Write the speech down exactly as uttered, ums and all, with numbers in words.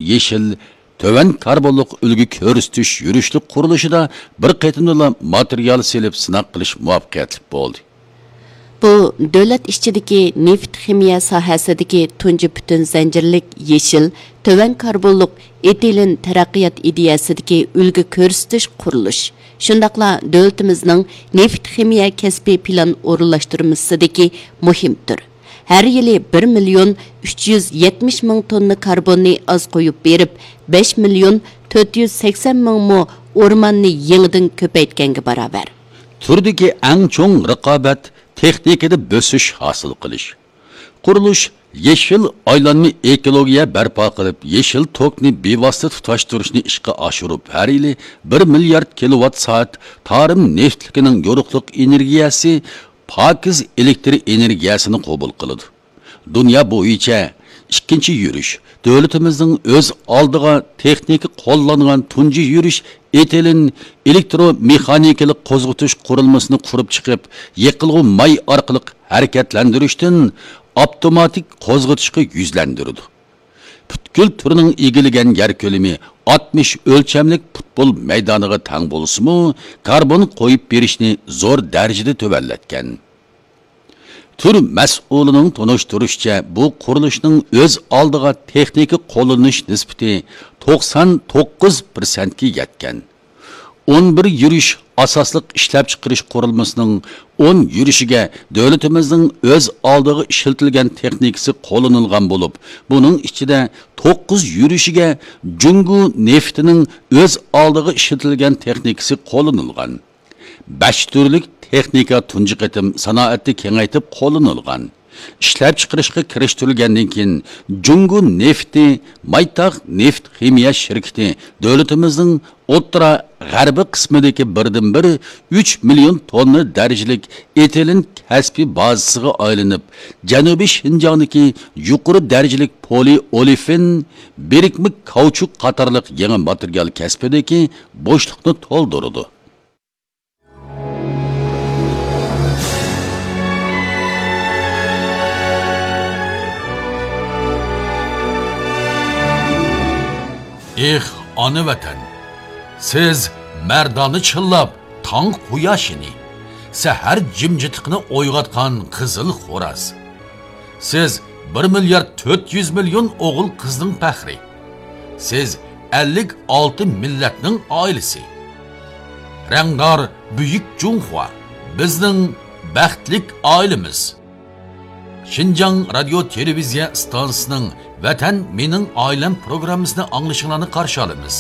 يېشىل، تۆۋەن كاربونلۇق ئۈلگە كۆرسىتىش يۈرۈشلۈك قۇرۇلۇشىدا بىر قېتىمدىلا ماتېرىيال سېلىپ سىناق قىلىش مۇۋەپپەقىيەتلىك بولدى. بۇ دۆلەت ئىچىدىكى نېفىت خىمىيە ساھەسىدىكى تۇنجى پۈتۈن زەنجىرلىك يېشىل، تۆۋەن كاربونلۇق ئېتىلېن تەرەققىيات ئىدىيەسىدىكى ئۈلگە كۆرسىتىش قۇرۇلۇش، شۇنداقلا دۆلىتىمىزنىڭ نېفىت خىمىيە كەسپىي پىلان ئورۇنلاشتۇرمىسىدىكى مۇھىم تۈر. ھەر يىلى بىر مىليون ئۈچ يۈز يەتمىش مىڭ توننا كاربوننى ئاز قويۇپ بېرىپ، بەش مىليون تۆت يۈز سەكسەن مىڭ مو ئورماننى يېڭىدىن كۆپەيتكەنگە باراۋەر. تۈردىكى ئەڭ چوڭ رىقابەت تېخنىكىدا بۆسۈش ھاسىل قىلىش. قۇرۇلۇش يېشىل ئايلانما ئېكولوگىيە بەرپا قىلىپ، يېشىل توكنى بىۋاسىتە تۇتاشتۇرۇشنى ئىشقا ئاشۇرۇپ، ھەر يىلى بىر مىليارد كىلوۋات سائەت تارىم نېفىتلىكىنىڭ يورۇقلۇق ئېنېرگىيەسى، پاكىز ئېلېكتر ئېنېرگىيەسىنى قوبۇل قىلىدۇ. دۇنيا بويىچە ئىككىنچى يۈرۈش، دۆلىتىمىزنىڭ ئۆز ئالدىغا تېخنىكا قوللانغان تۇنجى يۈرۈش ئېتىلېن ئېلېكترومېخانىكىلىق قوزغىتىش قۇرۇلمىسىنى قۇرۇپ چىقىپ، يېقىلغۇ ماي ئارقىلىق ھەرىكەتلەندۈرۈشتىن ئاپتوماتىك قوزغىتىشقا يۈزلەندۈرىدۇ. پۈتكۈل تۈرنىڭ ئىگىلىگەن يەر كۆلىمى ئاتمىش ئۆلچەملىك پۇتبول مەيدانىغا تەڭ بولسىمۇ، كاربون قويۇپ بېرىشنى زور دەرىجىدە تۆۋەنلەتكەن. تۈر مەسئۇلىنىڭ تونۇشتۇرۇشىچە، بۇ قۇرۇلۇشنىڭ ئۆز ئالدىغا تېخنىكا قوللىنىش نىسبىتى توقسان توققۇز پىرسەنتكە يەتكەن. ئون بىر يۈرۈش ئاساسلىق ئىشلەپچىقىرىش قۇرۇلمىسىنىڭ ئون يۈرۈشىگە دۆلىتىمىزنىڭ ئۆز ئالدىغا ئىشلىتىلگەن تېخنىكىسى قوللىنىلغان بولۇپ، بۇنىڭ ئىچىدە توققۇز يۈرۈشىگە جۇڭگو نېفىتىنىڭ ئۆز ئالدىغا ئىشلىتىلگەن تېخنىكىسى قوللىنىلغان. بەش تۈرلۈك تېخنىكا تۇنجى قېتىم سانائەتتە كېڭەيتىپ قوللىنىلغان. ئىشلەپچىقىرىشقا كىرىشتۈرۈلگەندىن كېيىن، جۇڭگو نېفىتى مايتاغ نېفىت خىمىيە شىركىتى دۆلىتىمىزنىڭ ئوتتۇرا غەربىي قىسمىدىكى بىردىنبىر ئۈچ مىليون توننا دەرىجىلىك ئېتىلېن كەسپىي بازىسىغا ئايلىنىپ، جەنۇبىي شىنجاڭدىكى يۇقىرى دەرىجىلىك پولىئولېفىن، بىرىكمە كاۋچۇك قاتارلىق يېڭى ماتېرىيال كەسپىدىكى بوشلۇقنى تولدۇرىدۇ. ئېھ، ئانا ۋەتەن! سىز مەردانە چىللاپ تاڭ قۇياشىنى، سەھەر جىمجىتلىقىنى ئويغاتقان قىزىل خوراز. سىز بىر مىليارد تۆت يۈز مىليون ئوغۇل قىزنىڭ پەخرى. سىز ئەللىك ئالتە مىللەتنىڭ ئائىلىسى. رەڭدار بۈيۈك جۇڭخۇا، بىزنىڭ بەختلىك ئائىلىمىز. شىنجاڭ رادىيو تېلېۋىزىيە ئىستانسىسىنىڭ ۋەتەن مېنىڭ ئائىلەم پروگراممىسىنى ئاڭلىشىڭلارنى قارشى ئالىمىز.